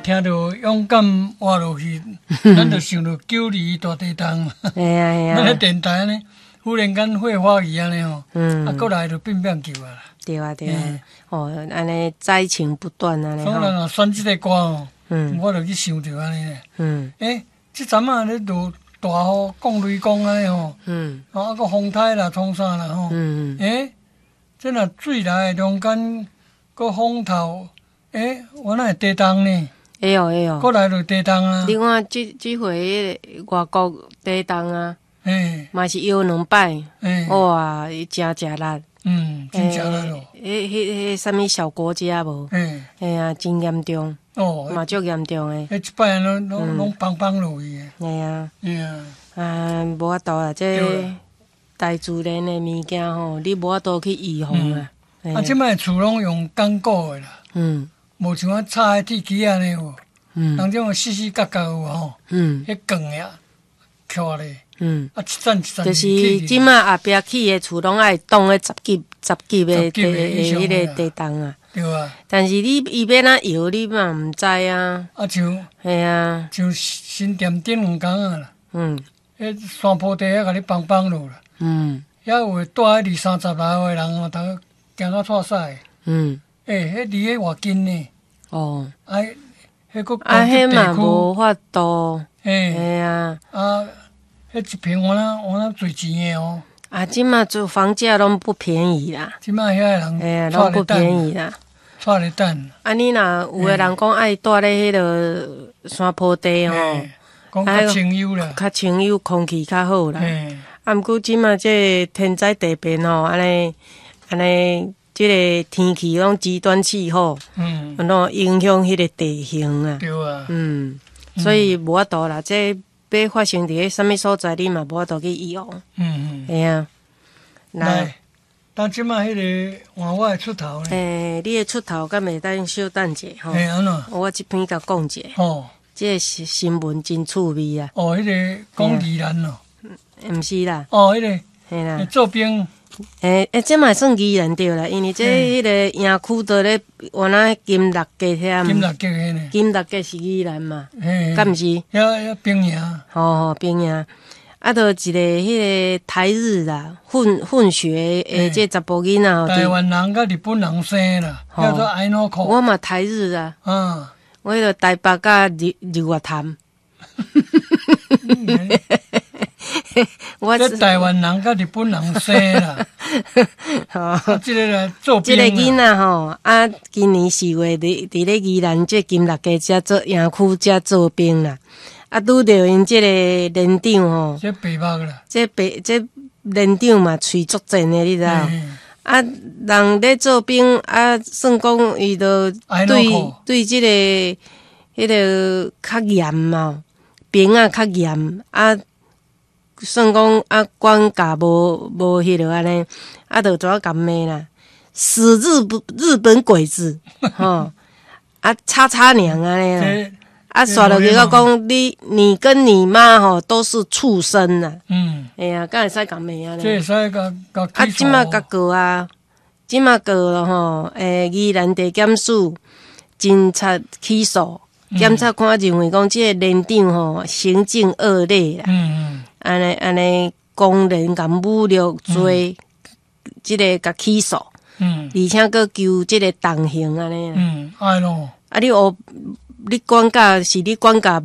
聽著勇敢活落去，咱就想著9·22大地動嘛。嘿啊嘿啊。咱咧電台按呢，忽然間火花去按呢吼，啊，閣來就變變球啊。對啊對啊，哦，按呢災情不斷按呢。所以人若選這個歌吼，我就去想著按呢。欸，這陣仔咧落大雨、降雷公按呢吼，啊，閣風颱啦、創啥啦吼。欸，這若水來中間閣風頭，欸，原來會地動呢。會哦會哦。閣來就地動啊！你看這這回外國地動啊，嘛是搖兩擺，哇，伊誠食力。嗯，真食力咯。彼彼彼啥物小國家無？嘿啊，真嚴重。哦。嘛足嚴重的。彼一擺攏攏攏枋枋落去的。嘿啊。嘿啊。啊，無法度啊，這大自然的物件吼，你無法度去預防啊。啊，這擺厝攏用鋼骨的啦。無像啊插的鐵枝按呢有。人這種四四角角有吼。彼鋼的徛咧。啊，一層一層。就是這馬後壁起的厝攏愛擋彼十級、十級的地彼个地動啊。對啊。但是你伊欲按怎搖，你嘛毋知啊。啊，像。嘿啊。像新店頂兩工啊啦。彼山坡地遐共你枋枋落啦。遐有的蹛佇二三十樓的人哦，逐个驚甲掣屎。欸，彼離彼偌近呢。哦。啊，彼閣啊，彼嘛無法度。嘿。嘿啊。啊，彼一坪敢若敢若濟錢的哦。啊，這馬做房價攏不便宜啦。這馬遐的人，嘿啊，攏不便宜啦。掣咧等。啊，你若有的人講愛蹛咧彼个山坡地吼，講較清幽啦，較清幽，空氣較好啦。啊，毋過這馬這天災地變吼，按呢按呢，這个天氣攏極端氣候，攏影響彼个地形啊。對啊。所以無法度啦，這欲發生佇咧啥物所在，你嘛無法度去預防。嘿啊。來，當這馬彼个換我的出頭呢？欸，你的出頭敢會當小等者吼？欸，按怎？我這篇共講者。哦。這个新聞真趣味啊！哦，彼个講宜蘭哦。毋是啦。哦，彼个。嘿啦。做兵。欸欸，這嘛算宜蘭對啦，因為這彼个營區佇咧原來金六結遐。金六結彼呢？金六結是宜蘭嘛？嘿。敢毋是？遐遐兵營。吼吼，兵營。啊，就一个彼个台日啦，混混血的這查埔囡仔吼。台灣人佮日本人生啦，叫做愛諾克。我嘛台日啊。我彼个台北佮日日月潭。我這台灣人佮日本人生啦。吼，這个來做這个囡仔吼，啊，今年4月佇佇咧宜蘭這金六結遮做營區遮做兵啦。啊，拄著𪜶這個連長吼，這白目啦。這白這連長嘛，喙足賤的，你知無？啊，人咧做兵啊，算講伊就對對這個彼个較嚴嘛，兵仔較嚴啊，算講啊，管教無無彼落按呢，啊，就怎共罵啦？死日本日本鬼子，吼！啊，叉叉娘按呢啦！啊，煞落去閣講你，你跟你媽吼都是畜生啦！哎呀，敢會使共罵按呢？這會使共共啊，這馬共告啊，這馬告了吼，欸，宜蘭地檢署偵查起訴，檢察官認為講這个連長吼行徑惡劣啦，按呢按呢，公然共侮辱罪，這个共起訴，而且閣求這个重刑按呢。嗯，愛咯。啊，你學你管教是你管教無？